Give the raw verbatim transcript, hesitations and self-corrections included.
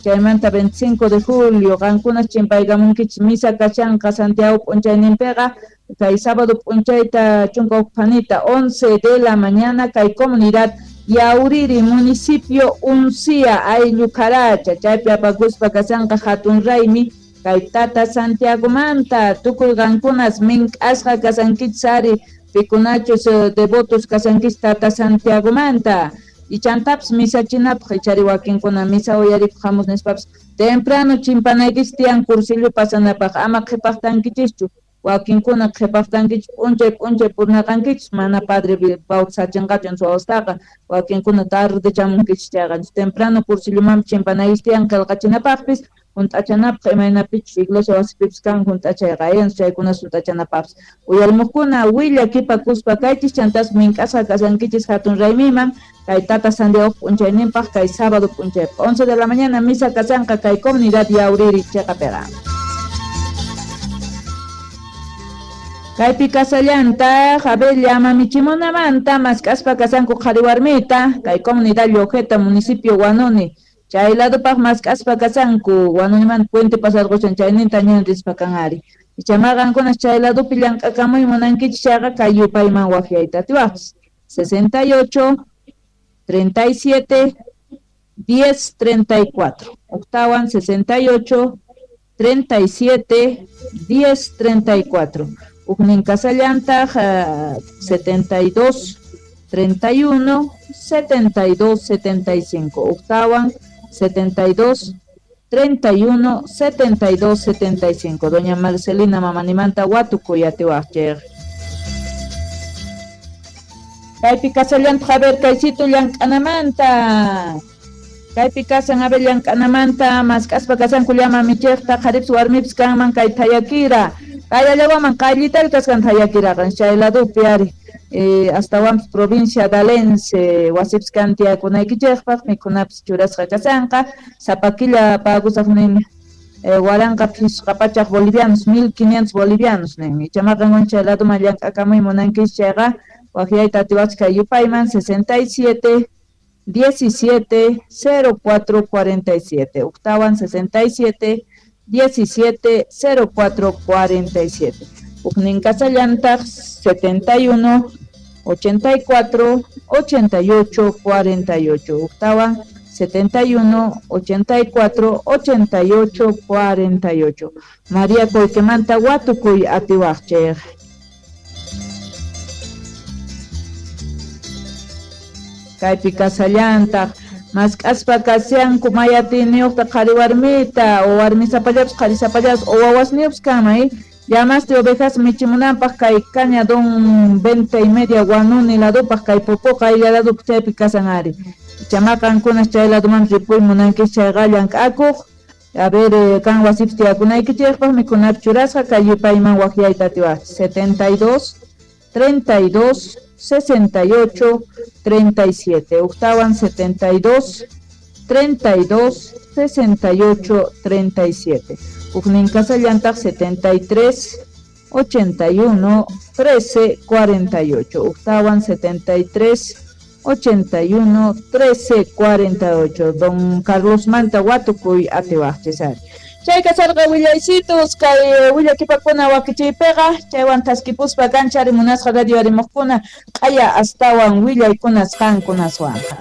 Chaymanta veinticinco de julio qankunas chimpaykamunkichis misa kashanqa Santiago p'unchayninpiqa kay sábado p'unchayta chunka huk phanita once de la mañana kay comunidad Yauriri municipio Uncía ayllu Caracha chaypi apakuspa kashanqa hatun raymi kay tata Santiagomanta tukuy qankunas mink'asqa kasankichis ari pikunachus devotos kasankichis tata Santiagomanta y chantapis misachinapaq ichari wakinkuna misa uyarikuq hamus nispapis temprano chimpanaykichis tiyan cursillo pasanapaq ama qhipaqtankichischu wakinkuna qhipaqtankichis p'unchay p'unchay purnaqankichis mana padre bautizachinqachu suwastaqa wakinkuna tarde chamunkichis chayqa temprano cursillomanpis chimpanaykichis tiyan qillqachinapaqpis hunt'achanapaq imaynapichus iglesia wasipipis kan hunt'achayqa ayanchis chaykuna hunt'achanapaqpis uyarimuqkuna willakipakuspa kaychis chantas mink'asqa kasankichis hatun raymiman kay tata Santiago p'unchayninpaq kay sábado p'unchaypaq once de la mañana misa kasanqa kay comunidad Yauriri chiqapiqa. Kaypi kasallantaq Abel Llama-Michimunamanta mask'aspa kasanku qhari warmita kay comunidad Llojeta municipio Huanuni chay ladupaq mask'aspa kasanku Huanunimanta puente pasarqushan chayninta ñan rispa kan ari ichaqa qankunas chay ladupi llank'akamuy munankichis chayqa kay yupayman waqyayta atiwaqchis sesenta y ocho treinta y siete diez treinta y cuatro octawan sesenta y ocho treinta y siete diez treinta y cuatro Ujnin kasallantaq setenta y dos treinta y uno setenta y dos setenta y cinco octawan setenta y dos treinta y uno setenta y dos setenta y cinco Doña Marcelina mamanimanta watukuy atiwaqchik. Kaypi kasallantaq a ver kaysito llank'anamanta kaypi kasan a ver llank'anamanta mask'aspa kasanku llama michiqta qharipis warmipis kanman kay thayakira kay allawaman qayllitalla kasqan thayakiraqa chay ladupi ari eh, astawanpis provincia Dalense wasipis kan tiyakunaykichikpaq mikhunapis churasqa kasanqa sapa killa pagusaq nin eh, waranqa phisqa pachaq bolivianos mil quinientos bolivianos nin ichaqa qanwan chay laduman llank'akamuy munankichis chayqa waqyayta atiwaqchis kay yupayman sesenta y siete diecisiete cero cuatro cuarenta y siete octawan sesenta y siete diecisiete cero cuatro cuarenta y siete Ujnin kasallantaq setenta y uno ochenta y cuatro ochenta y ocho cuarenta y ocho octawan setenta y uno ochenta y cuatro ochenta y ocho cuarenta y ocho María Coyquemanta watukuy atiwaqchik. Kaypi kasallantaq mask'aspa kasyanku mayatiniyuqta qhari warmita o warmisapallapis qharisapallapis o wawasniyuqpis kanman llamasti ovejas michimunanpaq kay caña don venta y media Huanuni ladupaq kay Popoqa aylla ladupaq chaypi kasan ari ichaqa qankunas chay laduman ripuy munankichis chayqa llank'akuq a ver kan wasipis tiyakunaykichikpaq mikhunapi churasqa kay yupayman waqyayta atiwaqchis setenta y dos treinta y dos sesenta y ocho treinta y siete octawan setenta y dos treinta y dos sesenta y ocho treinta y siete Ujnin kasallantaq setenta y tres ochenta y uno trece cuarenta y ocho octawan setenta y tres ochenta y uno trece cuarenta y ocho Don Carlos Manta watukuy atiwaqchis ari. Chay kasarqa willaysitus kay willakipakuna wakichiypiqa chaywan thaskipuspa kancha rimunasqa radio arimuqkuna q'aya astawan willaykunas qankunaswanqa.